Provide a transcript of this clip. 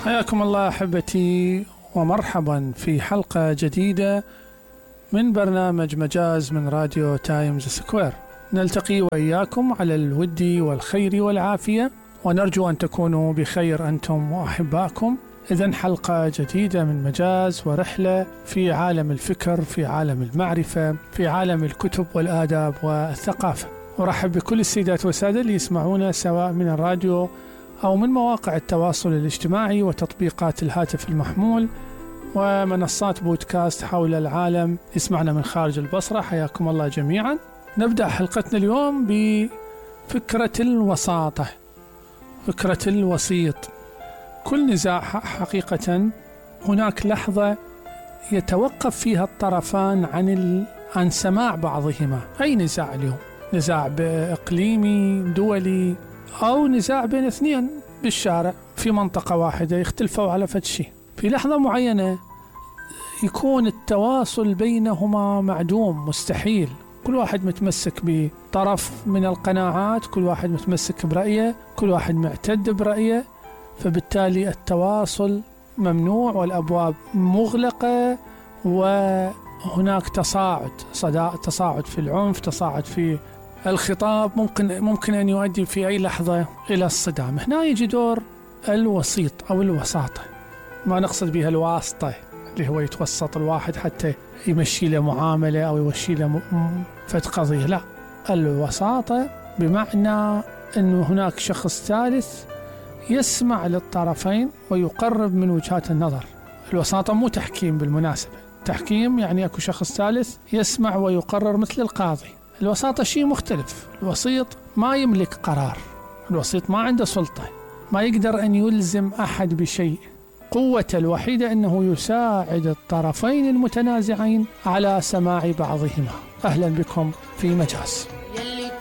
حياكم الله أحبتي ومرحبا في حلقة جديدة من برنامج مجاز من راديو تايمز سكوير. نلتقي وإياكم على الود والخير والعافية، ونرجو أن تكونوا بخير أنتم وأحبائكم. إذن حلقة جديدة من مجاز ورحلة في عالم الفكر، في عالم المعرفة، في عالم الكتب والآداب والثقافة. أرحب بكل السيدات والسادة اللي يسمعونا سواء من الراديو أو من مواقع التواصل الاجتماعي وتطبيقات الهاتف المحمول ومنصات بودكاست حول العالم يسمعنا من خارج البصرة. حياكم الله جميعا. نبدأ حلقتنا اليوم بفكرة الوساطة، فكرة الوسيط. كل نزاع حقيقة هناك لحظة يتوقف فيها الطرفان عن سماع بعضهما. أي نزاع اليوم، نزاع إقليمي دولي أو نزاع بين اثنين بالشارع في منطقة واحدة يختلفوا على فد شيء، في لحظة معينة يكون التواصل بينهما معدوم، مستحيل. كل واحد متمسك بطرف من القناعات، كل واحد متمسك برأيه، كل واحد معتد برأيه، فبالتالي التواصل ممنوع والأبواب مغلقة، وهناك تصاعد في العنف، تصاعد في الخطاب، ممكن أن يؤدي في أي لحظة إلى الصدام. هنا يجي دور الوسيط أو الوساطة، ما نقصد بها الواسطة اللي هو يتوسط الواحد حتى يمشي له معاملة أو يمشي له فد قضية، لا، الوساطة بمعنى أنه هناك شخص ثالث يسمع للطرفين ويقرب من وجهات النظر. الوساطة مو تحكيم بالمناسبة، تحكيم يعني أكو شخص ثالث يسمع ويقرر مثل القاضي. الوساطة شيء مختلف. الوسيط ما يملك قرار، الوسيط ما عنده سلطة، ما يقدر أن يلزم أحد بشيء. قوته الوحيدة أنه يساعد الطرفين المتنازعين على سماع بعضهما. أهلا بكم في مجاز.